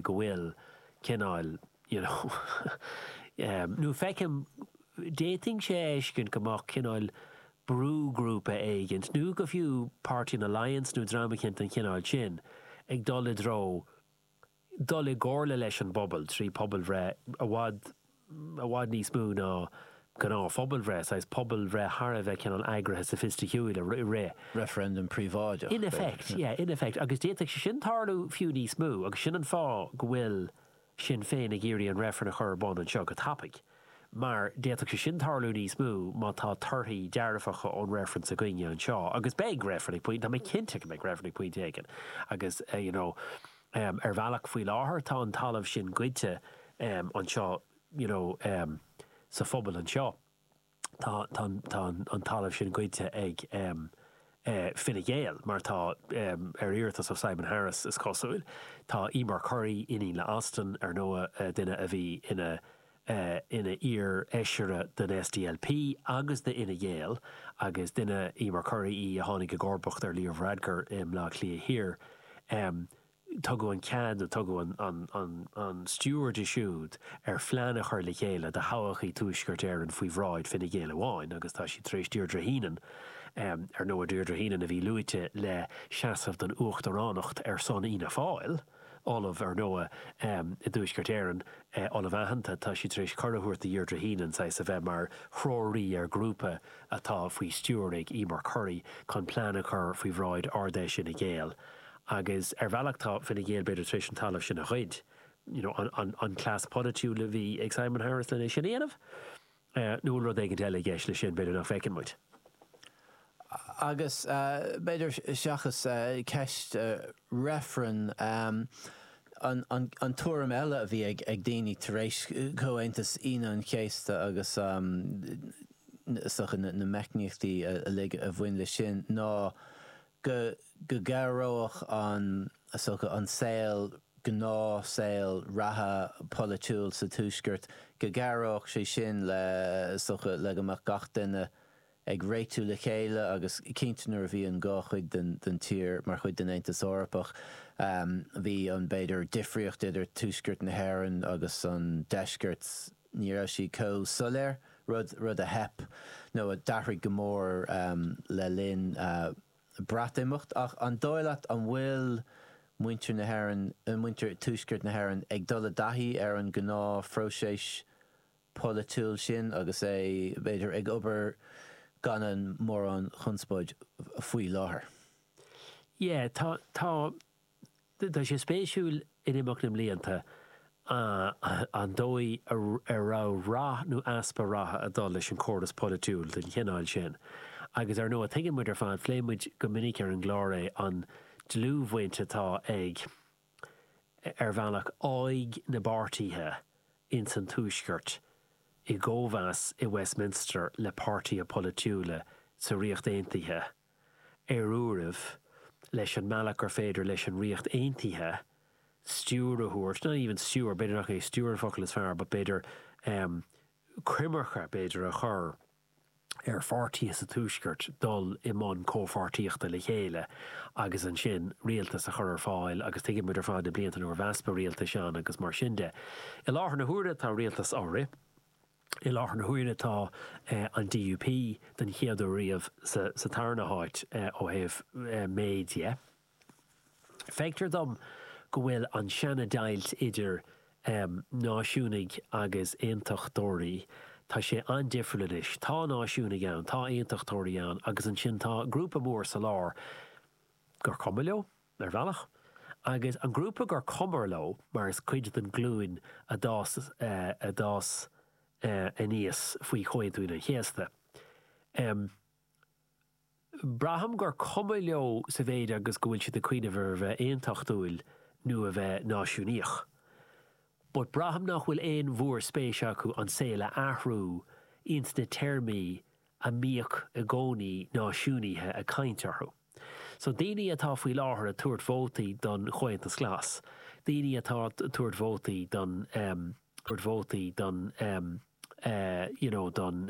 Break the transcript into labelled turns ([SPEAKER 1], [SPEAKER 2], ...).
[SPEAKER 1] go bhfuil cineál, you know, nó feicim, d'fhéadfainnse a fheiscint go mbeadh cineál brúghrúpa éigint, nó go fiú Páirtí an Alliance nó dream eicínt den chineál sin, ag dul i dtreo dul i gcomhairle leis an bpobal trí pobalbhreith i bhfad, i bhfad níos mó ná gnáth-phobalbhreith, saghas pobalbhreith thar a bheith cineál eagraithe soifisticiúil a rith.
[SPEAKER 2] Referendum príobháideach,
[SPEAKER 1] In effect, yeah, in effect. Agus d'fhéadfadh sé sin tarlú fiú níos mó agus sin an fáth go bhfuil Sinn Féin ag iarraidh an reifreann a chur ar bun anseo go tapaidh, mar d'fhéadfadh sé sin tarlú níos mó má tá torthaí dearfacha ón reifreann s'againne anseo, agus beidh reifreann ag pointe, tá mé cinnte go mbeidh reifreann ag pointe éigin, agus you know ar bhealach faoi láthair tá an talamh sin goidte anseo you know sa phobal anseo. Tá an talamh sin goidte ag Fine Gael, mar tá, ar iarratas ó Simon Harris, is cosúil. Tá Eimear Currie, iníon le Austin, ar ndóigh, duine a bhí ina ina iar-fheisire den SDLP agus d'Fhine Gael, agus duine Eimear Currie í a tháinig i gcomharbacht ar Leo Varadkar i mBleá Cliath Thiar. Tugadh an cead, nó tugadh an stiúir di siúd ar phlean a chur le chéile do thodhchaí Tuaisceart Éireann faoi bhráid Fine Gael amháin agus tá siad tar éis Deirdre Heenan, ar ndóigh Deirdre Heenan a bhí luaite le seasamh don uachtaránacht ar son Fhianna Fáil, ollamh ar ndóigh i dTuaisceart Éireann, ollamh aitheanta, tá siad tar éis cuireadh a thabhairt do Dheirdre Heenan saghas a bheith mar threoraí ar ghrúpa atá faoi stiúir ag Eimear Currie chun plean a chur faoi bhráid Ard-Fheis Fhine Gael. Agus ar bhealach tá Fine Gael b'fhéidir tar éis an talamh sin a ghoid, you know, an cleas polaitiúil a bhí ag Simon Harris len é sin a dhéanamh, nó bhfuil rud éigin eile i gceist leis sin b'fhéidir nach bhfeiceann muid.
[SPEAKER 2] Agus b'fhéidir seachas ceist reifrinn, an tuairim eile a bhí ag daoine tar éis Chomhaontas Aoine an Chéasta agus is dócha na meicníochtaí uilig a bhain leis sin ná go gcabhródh an, is dócha, an saol, gnáthshaol reatha polaitiúil sa Tuaisceart, go gcabhródh sé sin le, is dócha, le go mbeadh gach duine ag réitiú le chéile agus cinnte nuair a bhí an dhá chuid den tír mar chuid den Aontas Eorpach, bhí an, b'fhéidir, difríocht idir Tuaisceart na hÉireann agus an Deisceart, ní raibh sí chomh soiléir, rud, rud a theip nó a d'athraigh go mór le linn Breatimeacht. Ach an dóigh leat an bhfuil muintir na hÉireann, muintir Tuaisceart na hÉireann ag dul i dtaithí ar an ngnáthphróiseas polaitiúil sin agus é, b'fhéidir, ag obair gan an mórán conspóid faoi láthair?
[SPEAKER 1] Yeah, tá, tá. Tá sé spéisiúil in imeacht na mblianta an dóigh a raibh rath nó easpa ratha ag dul leis an chóras polaitiúil den chineál sin. Agus ar ndóigh tuigeann muid ar fad, phléigh muid go minic ar an gclár é, an dlúthbhaint atá ag, ar bhealach, aghaidh na bpáirtithe ins an Tuaisceart i gcóimheas i Westminster le páirtithe polaitiúla sa Ríocht Aontaithe. ar uairibh, leis an mbealach gur féidir leis an Ríocht Aontaithe stiúir a thabhairt, not even stiúir, b'fhéidir nach é stiúir an focal is fearr, but b'fhéidir coimirce, b'fhéidir, a chur ar pháirtithe sa Tuaisceart dul i mbun comhpháirtíochta le chéile agus ansin rialtas a chur ar fáil agus tuigeann muid ar fad na blianta nuair a bhí easpa rialtais ann agus mar sin de. I láthair na huaire tá rialtas á rith. I láthair na huaire tá an DUP den chéad uair riamh sa tarna háit ó thaobh méid dhe. Feictear dom go bhfuil an seana-deighilt idir náisiúnaigh agus aontachtóirí, tá sé an-difriúil anois. Tá náisiúnaigh ann, tá aontachtóirí ann agus ansin tá grúpa mór sa lár gur cuma leo. ar bhealach, agus an grúpa gur cuma leo, mar is cuid den ghlúin a d'fhás a d'fhás aníos faoi Chomhaontú Aoine an Chéasta. Braithim gur cuma leo sa mhéid agus go bhfuil siad ag cuimhneamh ar a bheith aontachtúil nó a bheith náisiúnaíoch. But braithim nach bhfuil aon mhór-spéis acu an saol a athrú ins na téarmaí a mbíodh i gcónaí náisiúnaithe ag caint orthu. So daoine atá faoi láthair ag tabhairt vótaí don Chomhaontas Glas, daoine atá ag tabhairt vótaí don, tabhairt vótaí don, you know, don.